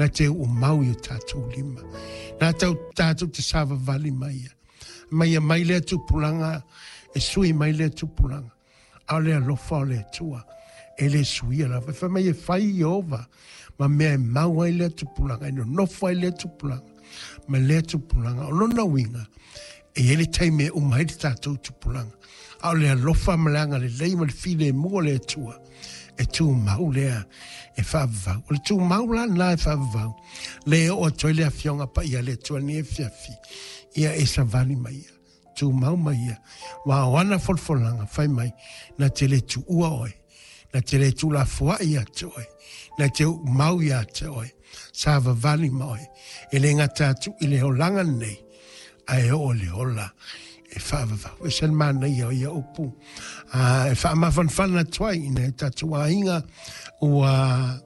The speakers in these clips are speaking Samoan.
Na te uumau i o tātou lima. Na tau tātou te savavali mai ia. Mai ia mai lea tupulaga, e sui mai lea tupulaga. A o le alofa o le Atua, e le suia lava. E fai mai e fai Ieova ma mea e mau ai lea tupulaga, e nonofo ai lea tupulaga, ma lea tupulaga. O lona uiga, e i ai le taimi e uma ai le tatou tupulaga. A o le alofa ma le agalelei ma le filemu o le Atua, e tumau lea e faavavau. O le tumau la lena e faavavau, lea e oo atu ai le Afioga Paia a le Atua i lenei afiafi, ia e savali mai ia, tumau mai ia, aua o ana folafolaga fai mai, na te le tuua oe, na te le tuulafoai ia te oe, na te uumau ia te oe, savavali ma oe, e le gata atu i le olaga lenei, ae oo i le ola e faavavau. E se le manaia o ia upu. E faamafanafana atu ai i nai o tatou aiga ua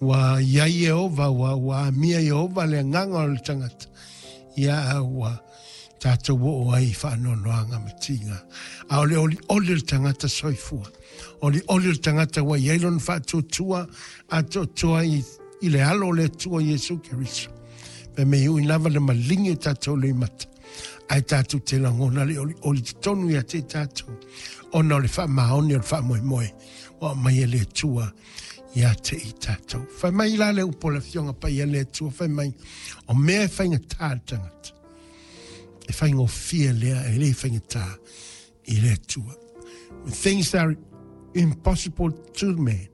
ua i ai Ieova, ua amia Ieova le agaga o le tagata, ia a ua tatou oo ai i faanoanoaga ma tiga. A o le olioli o le tagata soifua, olioli o le tagata ua i ai lona faatuatua atoatoa i le alo o le Atua Iesu Keriso. Fai mai e ui lava le maligi o tatou loimata, ae tatou te lagona le olioli totonu ia te tatou, ona o le faamaoni o le faamoemoe ua aumai e le Atua ia te i tatou. Fai mai la le upu a le Afioga Paia le Atua, fai mai, o mea e faigata le tagata, e faigofie lea, e le faigata i le Atua. When things are impossible to man,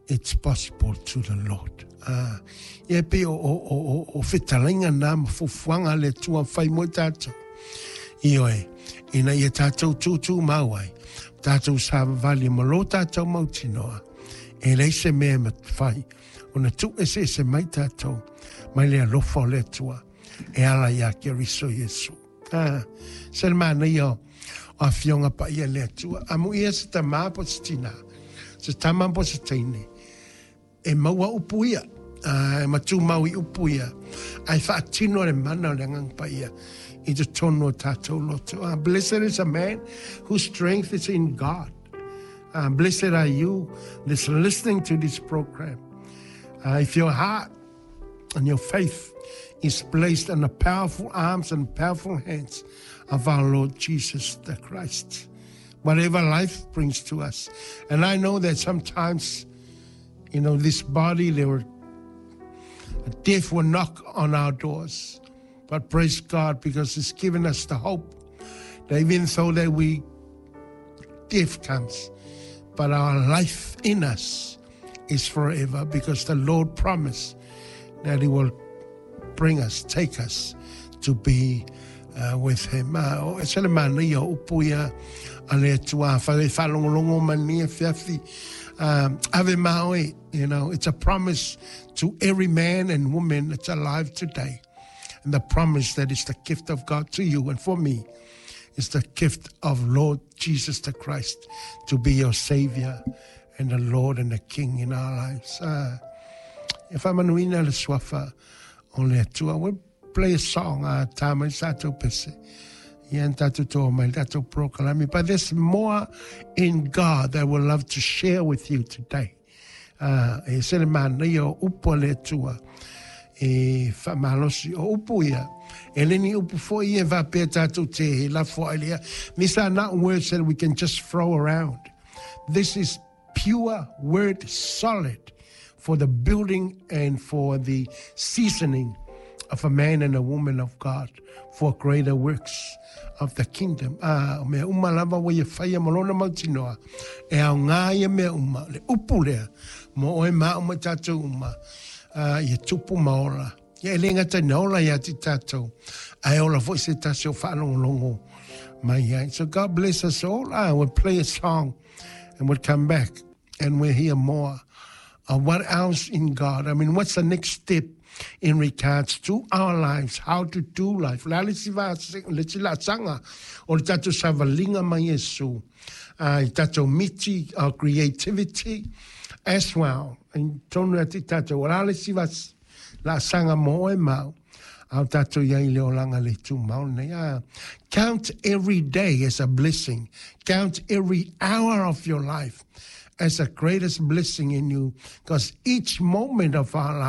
it's possible to the Lord. Ia e pei o fetalaiga na ma fuafuaga a le Atua fai mo i tatou. Ioe, ina ia tatou tūtūmau ai, tatou savavali ma lo tatou mautinoa, e leai se mea e mafai ona tuueseese mai tatou mai le alofa o le Atua e ala iā Keriso Iesu. Se le manaia o Afioga Paia le Atua. Amuia se tama po o se tinā, se tama po o se teine, e maua upu ia, e matumau i upu ia, ae faatino le mana o le Agaga Paia i totonu o tatou loto. Blessed is a man whose strength is in God. Blessed are you that's listening to this program. If your heart and your faith is placed in the powerful arms and powerful hands of our Lord Jesus the Christ. Whatever life brings to us. And I know that sometimes, you know, this body, there were, death will knock on our doors. But praise God, because it's given us the hope that even though that we, death comes, but our life in us is forever, because the Lord promised that He will bring us, take us to be with Him. O e se le manaia o upu ia a le Atua, whare e whalongolongo mai ni e whiawhi, ave ma oe, you know, it's a promise to every man and woman that's alive today. And the promise that is the gift of God to you and for me is the gift of Lord Jesus the Christ to be your Savior and the Lord and the King in our lives. E whamanuina le suafa o le Atua. We'll play a song, tā mai sa tātou pese. Ia tātou toa mai tātou prokalami. But there's more in God that we'll love to share with you today. E se le manaia o upu a le Atua e whamalosi o upu ia. E le ni upu foi e faapea tatou te he lafo ai lea. These are not words that we can just throw around. This is pure word solid for the building and for the seasoning of a man and a woman of God for greater works of the kingdom. O mea uma lava ua ia whaia ma lona mautinoa, e ao ngā ia mea uma, le upu lea, mo oe mā uma tātou uma, ia tupu ma ola. Ia e le gata ina ola ia te tātou, ae ola foi se tasi o whaalongolongo mai ai. So God bless us all. We'll play a song and we'll come back and we'll hear more of what else in God. I mean, what's the next step in regards to our lives, how to do life? Le a le isi le isi laasaga o le tatou savaliga ma Iesu, i tatou miti, our creativity as well. I tonu ia te tatou, o le a le isi laasaga mo oe ma au, a o tatou i ai i le olaga le tumau lenei. Count every day as a blessing. Count every hour of your life as the greatest blessing in you, because each moment of our life